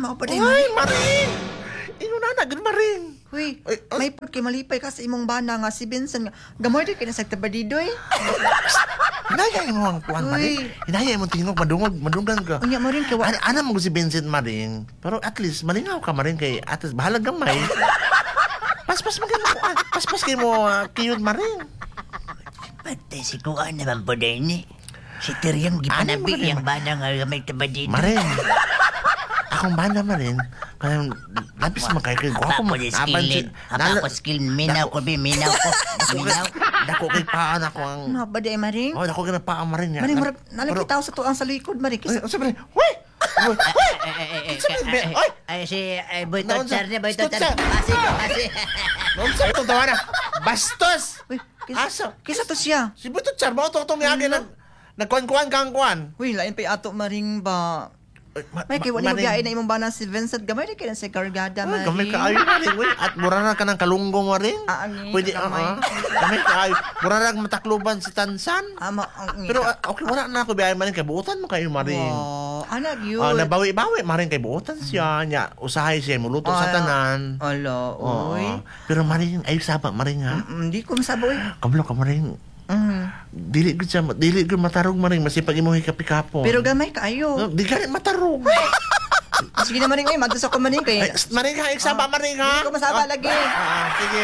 mao pa day. Ay, Maring! Ingon na gud, Maring. Huy, Ay, ay. may pud kay malipay ka sa imong bana nga si Vincent nga gamay di kay na sa tabadidoy. Hinaya mo ang kuan, Maring. Uy. Hinaya mo tingog, madungog, madunggan ka. Unya mo rin kay wa Ana, ana mo si Vincent, Maring. Pero at least malingaw ka, Maring, kay at least bahalag gamay. Paspas mo kayo kuan. Paspas kay mo kiyod, Maring. Patay si Kuan naman po din ni. Si Tiryang Ano gipanabi mo rin, yang bana nga gamay tabadito. Maring. Akong bana, Maring. Kaya labis man kay gwapo Apa mo. ko di skill. Apa ko skill. Minaw ko bi, minaw ko. Minaw. Dako kay paan ako ang Mao ba day, Maring? Oh, dako kay na paa, Maring. Maring, murag nalagitaw sa tuang sa likod, Maring. Ay, Kisa unsa, Maring? Uy! Uy! Uy! Oy! Ay, si ay, Boy Naunsa? Totsar niya, Boy Totser. Totsar. Pasi, pasi. Unsa itong tawa na? Bastos! Uy, kisa, Asa? kisa to siya. Si Buto Char, mo to itong yagi nag nagkuan-kuan kang kuan. Uy, lain pa ato, Maring ba. Ay, May kay wala mo Maring. biyahe na imong bana si Vincent gamay di kay na sa kargada, Ay, Maring. gamay kaayo, Maring. Uy, at mura na ka ng kalunggong, Maring. Ah, ang Pwede, gamay. oo. Gamay kaayo. Mura na matakluban si Tansan. Ama ang Pero okay, wala na ako biyahe, Maring. Kay buutan mo kayo, Maring. Wow, anak yun. Ah, nabawi-bawi, Maring, kay buutan siya. Nya, usahay siya, muluto sa Ah, tanan. Ala, Oo. uy. Pero Maring, ayo saba, Maring, ha? Hindi ko masabo, uy. Kablo ka, Maring. Dili gud siya, dili gud matarong, Maring, masipag imo hikapikapon. Pero gamay kaayo. No, di gani matarong. Sige na, Maring, uy, madto sa ko, Maring kay. Ay, Maring ha, iksaba, Maring ha. Hindi ko masaba Ah, lagi. Ah, sige.